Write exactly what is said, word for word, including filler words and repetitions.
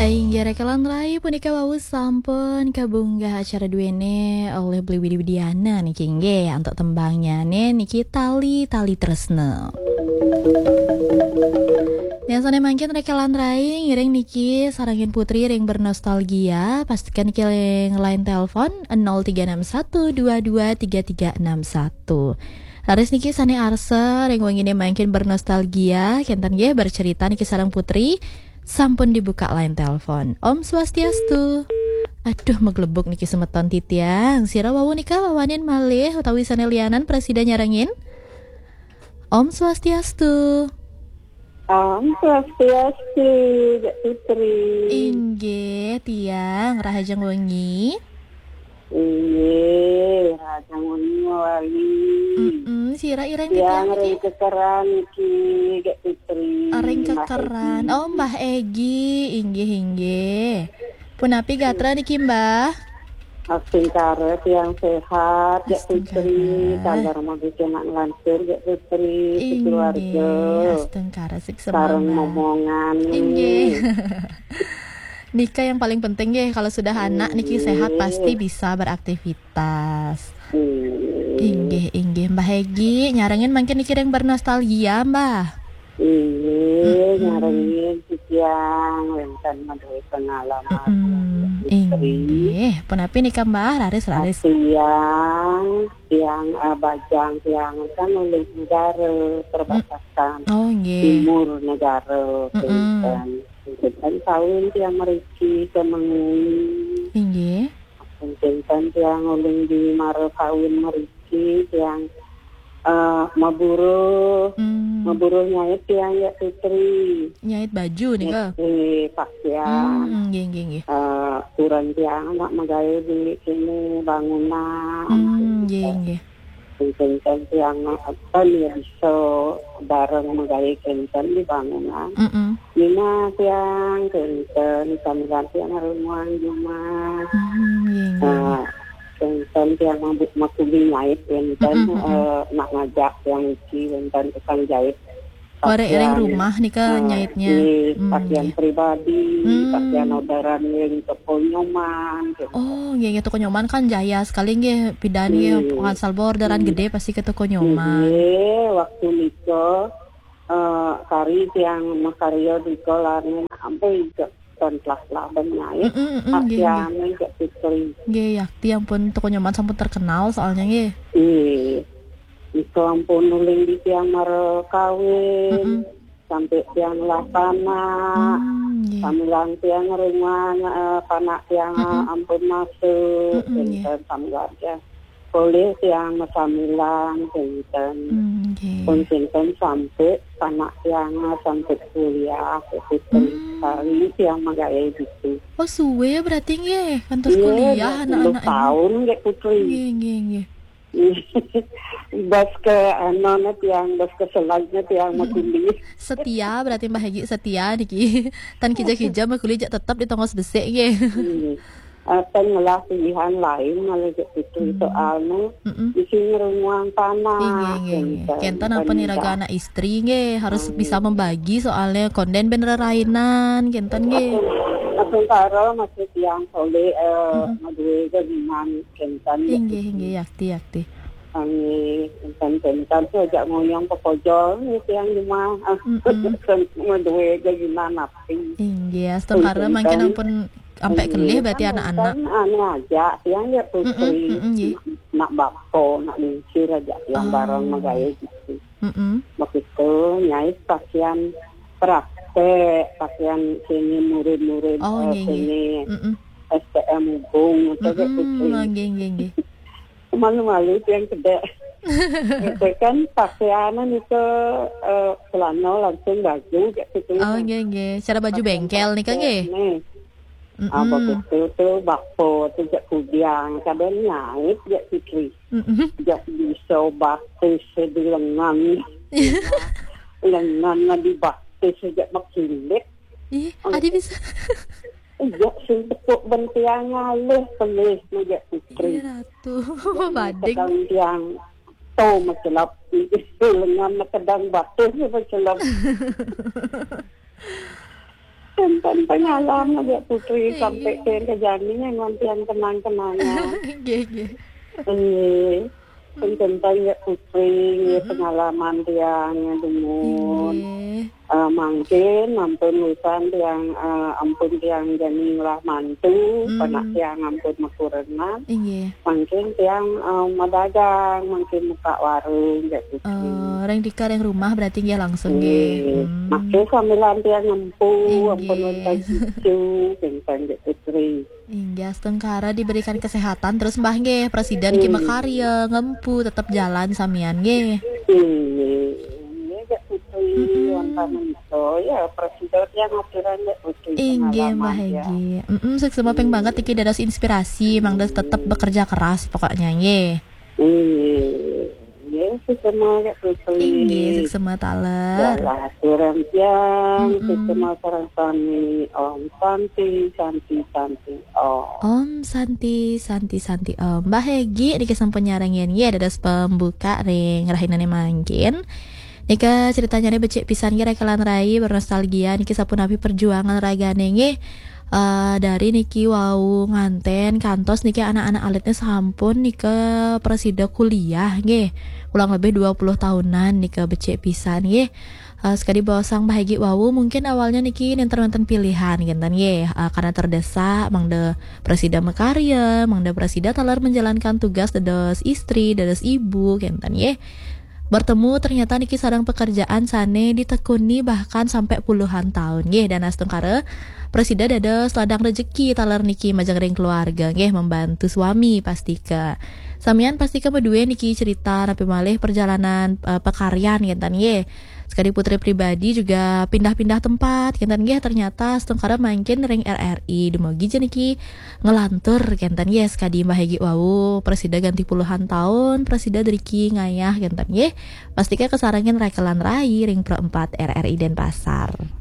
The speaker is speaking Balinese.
Inggih rekan rai, punika wau sampun kabunggah acara duene oleh Beli Widi Widiana niki, inggih, antuk tembangnyane niki Tali-Tali Tresna. Yang sane mangkin rekan rai, ngiring niki sarengin Putri ring bernostalgia, pastikan niki ring line telepon nol tiga enam satu dua dua tiga tiga enam satu. Raris niki sane arsa ring wengine mangkin bernostalgia, kenten nggih bercerita niki sareng Putri. Sampun dibuka line telepon. Om Swastiastu. Aduh, maglebuk niki semeton titiang. Sira wau nika wawanin malih utawi sane lianan prasida nyarengin? Om Swastiastu. Om Swastiastu, Dek Putri. Inggih, tiang rahajeng wengi. Inggih, rahajeng wengi wali. Mm-mm, sira ireng tiang ring niki? Kekeran niki, Dek Putri. Ring Mbah Kekeran. Egi. Oh, Mbah Egi, inggih, inggih. Punapi gatra niki, Mbah? Astungkara tiang sehat, Dek Putri. Astungkara. Taler mabujunan lantur, Dek Putri, sekeluarga. Inggih, astungkara, sik sareng semangat. Momongan. Inggih. Nika yang paling penting nggih, kalau sudah anak niki sehat, inggih, pasti bisa beraktivitas. Inggih. Inggih, inggih. Mbah Egi, nyarengin mangkin niki ring bernostalgia, Mbah? Inggih, mm-mm, nyarengin titiang wenten maduwe pengalaman. Mm-mm. Putri. Inggih. Punapi nika, Mbah? Raris, raris. Tiang, tiang, eh, bajang tiang kan olih negara, perbatasan. Mm. Oh, inggih. Timur negara, mm-mm, Kristen. Kristen kawin tiang mriki ke Mengwi. Inggih. Mungkin kan tiang ulun di mara kawin mriki, tiang, eh, maburuh, hmm, maburuh nyait tiang ya Putri. Nyait baju nika? Nyait pakaian. Hmm, nggih, nggih, nggih. Eh, kurang tiang nak magawe di sini bangunan. Hmm, nggih, nggih. Mungkin kan tiang apa nih bisa bareng magawe kenten di bangunan. Mm-mm. Nina tiang kenten, sambilan tiang harus muang jumah. Hmm, nggih, nggih, nggih. Nah, kenten tiang mabuk makuli nyait kenten, mm-mm, mm-mm, eh, nak ngajak tiang uci kenten tukang jahit. Warek ring pakaian, rumah nika, eh, nyaitnya. Nggih, hmm, pakaian, nggih, pribadi, hmm, pakaian orderan ring toko Nyoman, gitu. Oh, nggih, nggih, toko Nyoman kan jaya sekali nggih, pidan nggih, hmm, asal orderan, hmm, gede pasti ke toko Nyoman. Nggih, waktu nika, eh, kari tiang makarya nika larin sampai ke ton telah-telah ben nyait. Mm-mm, mm-mm, nggih, nggih. Pakaian ke Putri. Nggih, ya, tiang pun toko Nyoman sampun terkenal soalnya nggih. Nggih. Nika ampun nuling di tiang mara kawin, mm-mm, sampai tiang ngelah panak, hmm, nggih, sambilan tiang ring wana, eh, panak tiang, mm-mm, ampun masuk, mm-mm, nggih, kenten sambilan tiang. Polih tiang masambilan, kenten. Hmm, nggih. Pun kenten sampai panak tiang sampai kuliah, kenten. Hmm. Sekali tiang magawe gitu. Oh, suwe berarti nggih, kantos, nggih, kuliah dua puluh anak-anak ini. Tahun, nggih, Putri. Nggih, nggih, nggih. Bas ke anone tiang, bas ke selajne tiang, mm-mm, makuli. Setia berarti Mbah Egi, setia niki. Tan kija-kija makuli jak tetep di tongos besik nggih. Hmm. Eh, tan ngelah pilihan lain malah jak itu, mm-mm, soalnya, mm-mm, isi ngerunguang tanah. Inggih, inggih, inggih. Kenten, kenten ampun iraga anak istri nggih, harus, mm, bisa membagi soalnya konden ben rerainan, kenten nggih. Aku, aku karo masih tiang soleh, eh, mm-mm, maduwe gaginan. Kenten, ya. Inggih, inggih, yakti, yakti. Kami kenten-kenten saja ngoyong pepojol, nggih, tiang jumah. Ah, mm-mm, kenten maduwe gaginan api. Inggih, astungkara mangkin ampun ampe, inggih, kelih berarti kan anak-anak. Kan anu aja, tiang ya Putri. Mm-mm, mm-mm, nggih. Nak bapa, nak lingsir aja tiang, oh, bareng magawe gitu. Mm-mm. Begitu, nyait pakaian praktek, pakaian seni murid-murid, oh, eh, nggih, nggih, seni, mm-mm, S T M Ubung, itu, mm-mm, Putri. Oh, nggih, nggih, nggih. Malu-malu tiang kedek. Itu kan pakaiannya itu, eh, celana langsung baju, kayak gitu. Oh, nggih, nggih. Cara baju pakaian bengkel nih, Kak, nggih? Praktek, nih. Ah, mm-mm, begitu tuh, bapa tuh jak kudiang, kadang nyait jak Putri. Mm-mm. Jak bisa batis di lengan. Lengan dibatis jak makilit. Ih, oh, adi bisa. Jak sing tepuk bentiang ngalih pelih jak Putri. Iya, Ratu. Bading. Kadang tiang to macelap. Lengan kadang batis macelap. Tentang pengalaman ya Putri, sampai ke kejadian memang tiang kenang-kenangan. Nggih, nggih. Iya. Tentang ya Putri, ya, pengalaman tiang ya dulu. Nggih. Eh, mangkin ampun wisan tiang, eh, ampun tiang jani lah mantu, Hmm. panak tiang ampun makurenan. Nggih. Mangkin tiang, eh, madagang, mangkin muka warung ya Putri. Eh, ring dika ring rumah berarti nggih langsung nggih. Iya. Hmm. Mangkin sambilan tiang ngempu, Inggih. Ampun wonten cucu, tentang ya Putri. Inggih, astungkara diberikan kesehatan terus Mbah nggih, Presiden ki makarya, ngempu, tetep jalan samian nggih. Iya, iya, ya Putri, wonten menika, ya, Presiden yang aturan ya Putri. Inggih, Mbah Pengalaman, ya. Hegi. Mm-mm, suksma ping banget iki dados inspirasi, mangda tetep bekerja keras pokoknya nggih. Iya, iya, suksma ya Putri. Inggih, suksma taler. Dalah aturan tiang, Mm-mm. suksma sareng sami. Om Santi, Santi, Santi, Om. Om Santi, Santi, Santi Om. Mbah Hegi niki sampun nyarengin nggih dados pembuka ring rahinane mangkin. Nika ceritanyane becik pisan nggih, Raka lan Rai, bernostalgia niki sapunapi perjuangan ragane nggih. Eh, dari niki wau nganten kantos niki anak-anak alitnya sampun nika prasida kuliah nggih. Kurang lebih dua puluh tahunan nika becik pisan nggih. Eh, sekadi baosang Mbah Hegi wau, mungkin awalnya niki nenten wonten pilihan kenten nggih. Eh, karena terdesak, mangda prasida makarya, mangda prasida taler menjalankan tugas dados istri, dados ibu kenten nggih. Bertemu ternyata niki sareng pekerjaan sane ditekuni bahkan sampai puluhan tahun nggih, dan astungkara prasida dados ladang rejeki taler niki majeng ring keluarga nggih, membantu suami pastika. Samian pastika madue niki cerita napi malih perjalanan, eh, pekaryan kenten nggih. Sekadi Putri pribadi juga pindah-pindah tempat kenten nggih, ternyata astungkara mangkin ring R R I, dumugi ja niki ngelantur kenten nggih, sekadi Mbah Hegi wau, prasida ganti puluhan tahun prasida driki ngayah kenten nggih. Pastika kasarengin Raka lan Rai ring Pro empat R R I Denpasar.